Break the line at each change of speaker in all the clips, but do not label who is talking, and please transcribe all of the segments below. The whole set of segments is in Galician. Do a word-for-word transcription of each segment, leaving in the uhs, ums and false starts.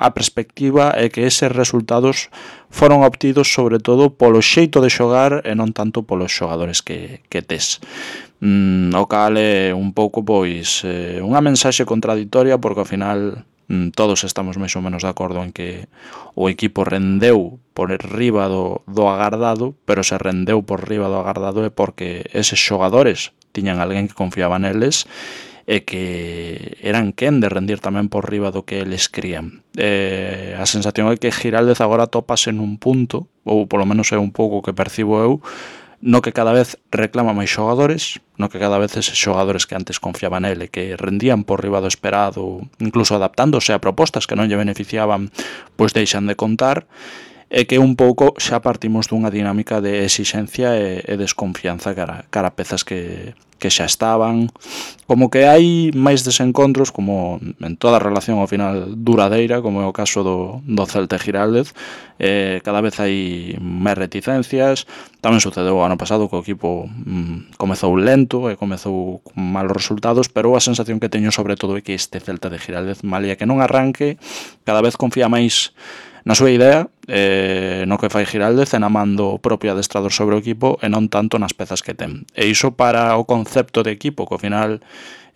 a perspectiva é que eses resultados foron obtidos sobre todo polo xeito de xogar e non tanto polos xogadores que, que tes. Mm, o cal é un pouco pois eh, unha mensaxe contradictoria, porque ao final mm, todos estamos máis ou menos de acordo en que o equipo rendeu por riba do, do agardado, pero se rendeu por riba do agardado é porque eses xogadores tiñan alguén que confiaba neles e que eran quen de rendir tamén por riba do que eles crían. Eh, a sensación é que Giraldez agora topase nun punto, ou polo menos é un pouco o que percibo eu, no que cada vez reclama máis xogadores, no que cada vez eses xogadores que antes confiaban nele, que rendían por riba do esperado, incluso adaptándose a propostas que non lle beneficiaban, pois deixan de contar, e que un pouco xa partimos dunha dinámica de exixencia e, e desconfianza cara, cara a pezas que, que xa estaban, como que hai máis desencontros, como en toda relación ao final duradeira, como é o caso do, do Celta e Giraldez. Eh, cada vez hai máis reticencias. Tamén sucedeu o ano pasado que o equipo mm, comezou lento e comezou con malos resultados, pero a sensación que teño sobre todo é que este Celta de Giraldez, malia que non arranque, cada vez confía máis na súa idea, eh, no que fai Giraldez, e na man do propio adestrador sobre o equipo e non tanto nas pezas que ten. E iso para o concepto de equipo, que ao final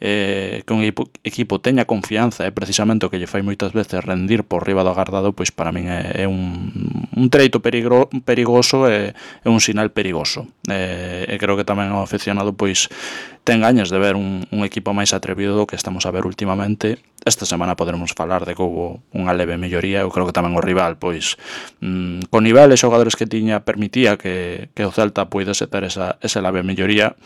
eh, que un equipo, equipo teña confianza é precisamente o que lle fai moitas veces rendir por riba do agardado, pois para min é, é un, un treito perigro, perigoso e é un sinal perigoso. E, e creo que tamén o aficionado pois ten gañas de ver un, un equipo máis atrevido do que estamos a ver últimamente. Esta semana poderemos falar de que houve unha leve melloría. Eu creo que tamén o rival, pois, mmm, con nivel e xogadores que tiña, permitía que, que o Celta puidese ter esa, esa leve melloría,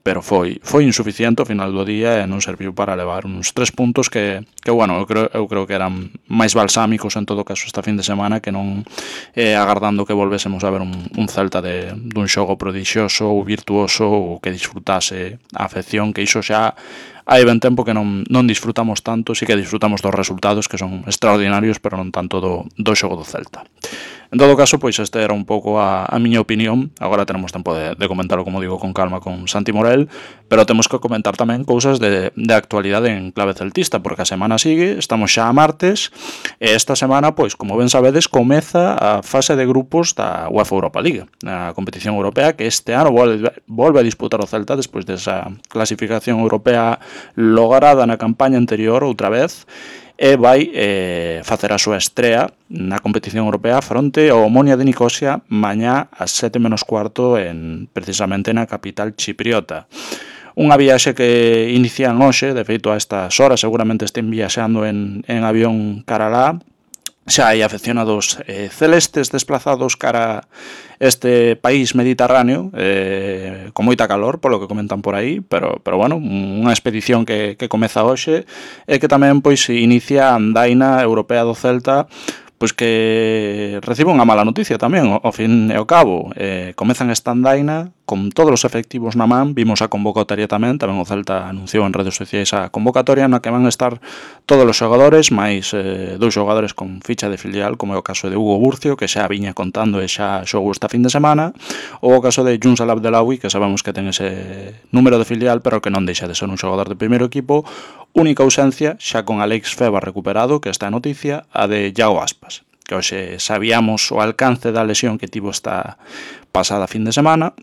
pero foi foi insuficiente ao final do día e non serviu para levar uns tres puntos que, que bueno, eu creo, eu creo que eran máis balsámicos en todo caso esta fin de semana que non eh, agardando que volvésemos a ver un, un Celta de, dun xogo prodixioso ou virtuoso ou que disfrutase a afección, que iso xa hai ben tempo que non, non disfrutamos tanto. Sí que disfrutamos dos resultados, que son extraordinarios, pero non tanto do, do xogo do Celta. En todo caso, pois este era un pouco a, a miña opinión. Agora tenemos tempo de, de comentarlo, como digo, con calma con Santi Morel, pero temos que comentar tamén cousas de, de actualidade en clave celtista, porque a semana sigue, estamos xa a martes, e esta semana, pois, como ben sabedes, comeza a fase de grupos da UEFA Europa League, a competición europea que este ano volve, volve a disputar o Celta despois desa clasificación europea lograda na campaña anterior outra vez, e vai eh, facer a súa estrea na competición europea fronte ao Omonia de Nicosia mañá ás sete menos cuarto en, precisamente na capital chipriota. Unha viaxe que inician hoxe, de feito a estas horas seguramente estén viaxando en, en avión cara lá. Xa hai afeccionados eh, celestes desplazados cara este país mediterráneo, eh, con moita calor, polo que comentan por aí, pero, pero bueno, unha expedición que, que comeza hoxe e que tamén pois inicia a andaina europea do Celta, pois que recibe unha mala noticia tamén, ao fin e ao cabo. Eh, comezan esta andaina con todos os efectivos na man, vimos a convocatoria tamén, tamén o Celta anunciou en redes sociais a convocatoria na que van a estar todos os xogadores, máis eh, dous xogadores con ficha de filial, como é o caso de Hugo Burcio, que xa viña contando e xa xogou esta fin de semana, ou o caso de Junsal Abdelawi, que sabemos que ten ese número de filial, pero que non deixa de ser un xogador de primeiro equipo. Única ausencia, xa con Alex Feba recuperado, que esta noticia, a de Iago Aspas, que hoxe sabíamos o alcance da lesión que tivo esta pasada fin de semana,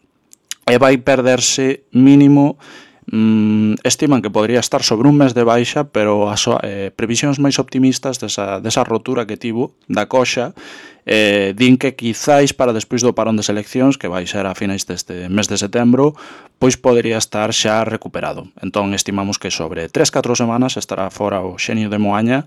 e vai perderse mínimo, mmm, estiman que podría estar sobre un mes de baixa, pero as eh, previsións máis optimistas desa, desa rotura que tivo da coxa eh, din que quizáis para despois do parón de seleccións, que vai ser a finais deste mes de setembro, pois podería estar xa recuperado. Entón estimamos que sobre tres a catro semanas estará fora o Xenio de Moaña,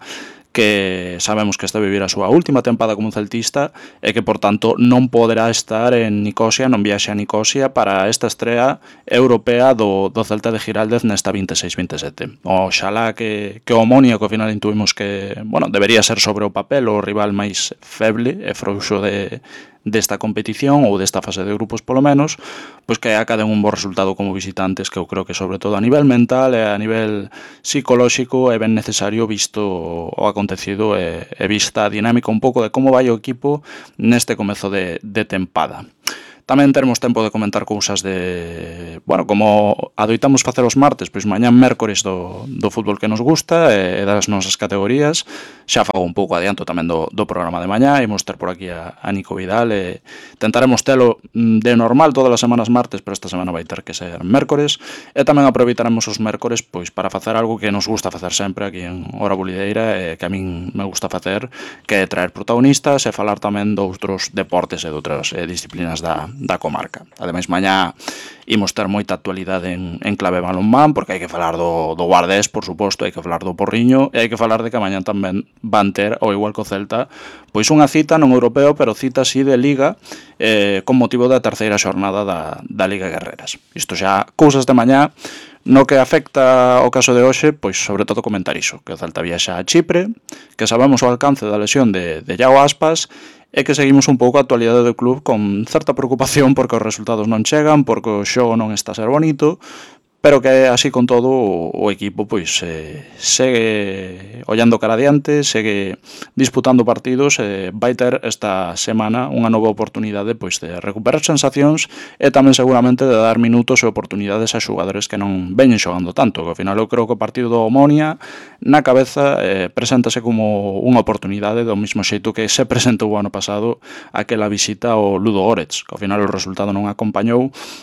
que sabemos que está a vivir a súa última tempada como celtista e que, por tanto, non poderá estar en Nicosia, non viaxe a Nicosia para esta estrea europea do, do Celta de Giraldez nesta vinte e seis vinte e sete. Oxalá que, que o Omonia, que ao final intuimos que, bueno, debería ser sobre o papel o rival máis feble e frouxo de desta competición ou desta fase de grupos polo menos, pois que acaden un bo resultado como visitantes, que eu creo que sobre todo a nivel mental e a nivel psicolóxico é ben necesario visto o acontecido e, e vista a dinámica un pouco de como vai o equipo neste comezo de, de tempada. Tamén termos tempo de comentar cousas de... Bueno, como adoitamos facer os martes, pois mañán mércores do, do fútbol que nos gusta e das nosas categorías. Xa fago un pouco adianto tamén do, do programa de mañá. Imos ter por aquí a, a Nico Vidal e tentaremos telo de normal todas as semanas martes, pero esta semana vai ter que ser mércores. E tamén aproveitaremos os mércores pois para facer algo que nos gusta facer sempre aquí en Hora Bulideira e que a min me gusta facer, que é traer protagonistas e falar tamén de outros deportes e de outras eh, disciplinas da da comarca. Ademais, mañá imos ter moita actualidade en, en clave balonmán, porque hai que falar do, do Guardés, por suposto, hai que falar do Porriño, e hai que falar de que mañá tamén van ter, ao igual que o Celta, pois unha cita non europeo, pero cita así de Liga, eh, con motivo da terceira xornada da, da Liga Guerreras. Isto xa, cousas de mañá. No que afecta ao caso de hoxe, pois sobre todo comentar iso, que o Celta viaxa a Chipre, que sabemos o alcance da lesión de, de Iago Aspas, e que seguimos un pouco a actualidade do club con certa preocupación porque os resultados non chegan, porque o xogo non está a ser bonito, pero que así con todo o equipo pois eh, segue ollando cara adiante, segue disputando partidos e vai ter esta semana unha nova oportunidade pois de recuperar sensacións e tamén seguramente de dar minutos e oportunidades a xogadores que non veñen xogando tanto, que ao final eu creo que o partido do Omonia na cabeza eh, preséntase como unha oportunidade do mesmo xeito que se presentou o ano pasado aquela visita ao Ludo Goretz, que ao final o resultado non acompañou